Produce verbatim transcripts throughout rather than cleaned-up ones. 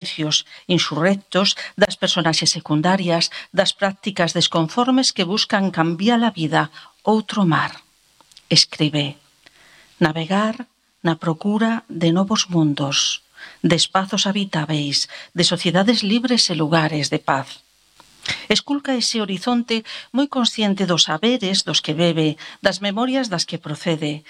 silencios insurrectos, das personaxes secundarias, das prácticas desconformes que buscan cambiar a vida, outro mar. Escribe: navegar na procura de novos mundos, de espazos habitáveis, de sociedades libres e lugares de paz. Esculca ese horizonte moi consciente dos saberes dos que bebe, das memorias das que procede,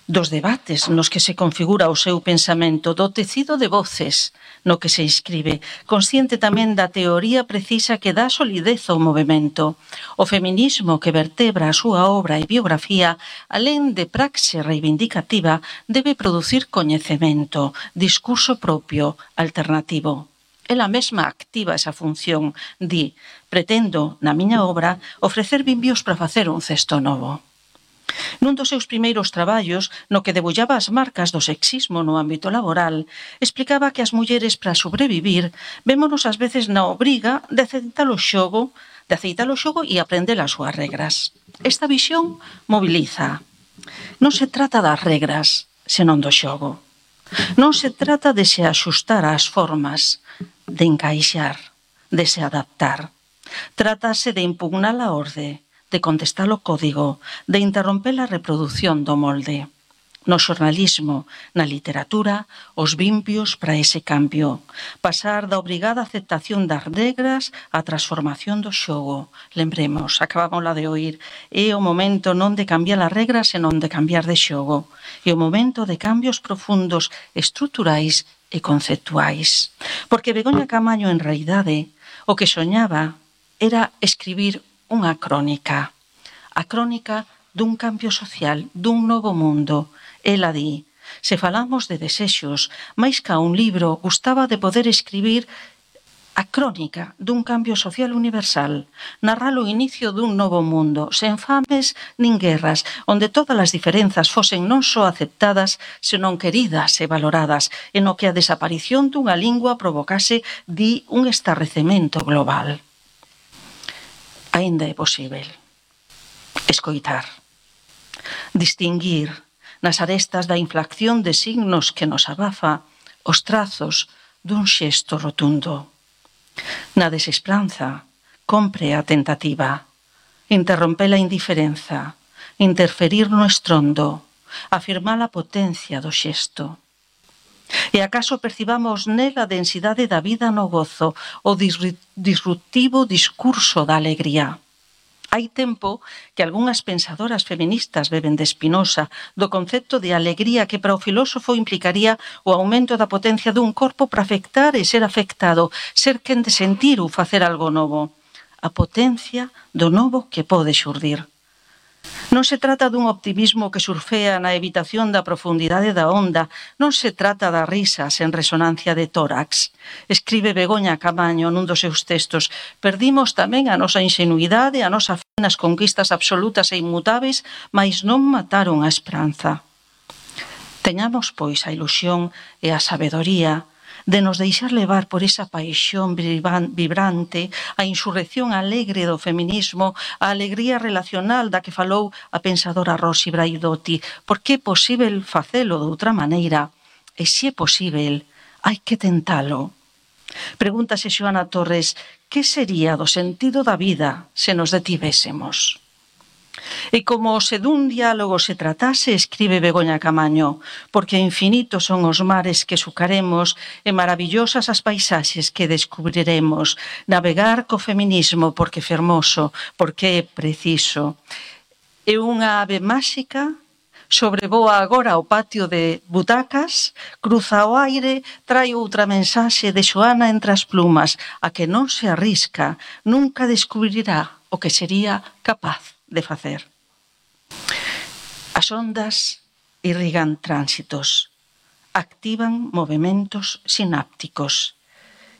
dos debates nos que se configura o seu pensamento, do tecido de voces no que se inscribe, consciente tamén da teoría precisa que dá solidez ao movimento. O feminismo que vertebra a súa obra e biografía, alén de praxe reivindicativa, debe producir coñecemento, discurso propio, alternativo. Ela mesma activa esa función, di: pretendo, na miña obra, ofrecer vimbios para facer un cesto novo. Nun dos seus primeiros traballos, no que debullaba as marcas do sexismo no ámbito laboral, explicaba que as mulleres, para sobrevivir, vémonos ás veces na obriga de aceitar o xogo, de aceitar o xogo e aprender as súas regras. Esta visión moviliza. Non se trata das regras, senón do xogo. Non se trata de se axustar ás formas, de encaixar, de se adaptar. Trátase de impugnar a orde, de contestar o código, de interromper a reproducción do molde. No xornalismo, na literatura, os vimpios para ese cambio. Pasar da obrigada aceptación das regras á transformación do xogo. Lembremos, acabamos la de oír, é o momento non de cambiar as regras, senón de cambiar de xogo. É o momento de cambios profundos, estruturais e conceptuais. Porque Begoña Camaño, en realidade, o que soñaba era escribir unha crónica, a crónica dun cambio social, dun novo mundo. Ela di: se falamos de desexos, máis ca un libro, gustaba de poder escribir a crónica dun cambio social universal, narrar o inicio dun novo mundo, sen fames nin guerras, onde todas as diferenzas fosen non só aceptadas, senón queridas e valoradas, e no que a desaparición dunha lingua provocase, di, un estarrecemento global. Aínda é posível escoitar, distinguir nas arestas da inflación de signos que nos abafa os trazos dun xesto rotundo. Na desesperanza, compre a tentativa, interromper a indiferenza, interferir no estrondo, afirmar a potencia do xesto. E acaso percibamos nela a densidade da vida no gozo, o disruptivo discurso da alegría. Hai tempo que algunhas pensadoras feministas beben de Spinoza, do concepto de alegría que para o filósofo implicaría o aumento da potencia dun corpo para afectar e ser afectado, ser quen de sentir ou facer algo novo. A potencia do novo que pode xurdir. Non se trata dun optimismo que surfea na evitación da profundidade da onda, non se trata da risa sen resonancia de tórax. Escribe Begoña Camaño nun dos seus textos: perdimos tamén a nosa ingenuidade, a nosa fe nas conquistas absolutas e inmutáveis, mais non mataron a esperanza. Teñamos, pois, a ilusión e a sabedoría de nos deixar levar por esa paixón vibrante, a insurrección alegre do feminismo, a alegría relacional da que falou a pensadora Rosy Braidotti, porque é posíbel facelo de outra maneira, e se é posíbel, hai que tentalo. Pregúntase Xoana Torres: que sería do sentido da vida se nos detivésemos? E como se dun diálogo se tratase, escribe Begoña Camaño, porque infinitos son os mares que sucaremos e maravillosas as paisaxes que descubriremos. Navegar co feminismo porque é fermoso, porque é preciso. É unha ave máxica, sobrevoa agora o patio de butacas, cruza o aire, trae outra mensaxe de Xoana entre as plumas, a que non se arrisca, nunca descubrirá o que sería capaz de facer. As ondas irrigan tránsitos, activan movementos sinápticos.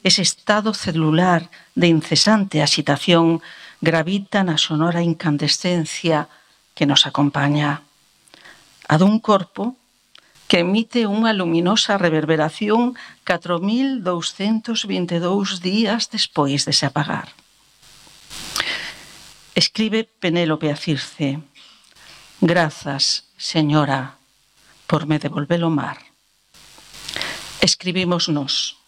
Ese estado celular de incesante axitación gravita na sonora incandescencia que nos acompaña. A dun corpo que emite unha luminosa reverberación catro mil douscentos vinte e dous días despois de se apagar. Escribe Penélope a Circe: grazas, señora, por me devolver o mar. Escribimos nós.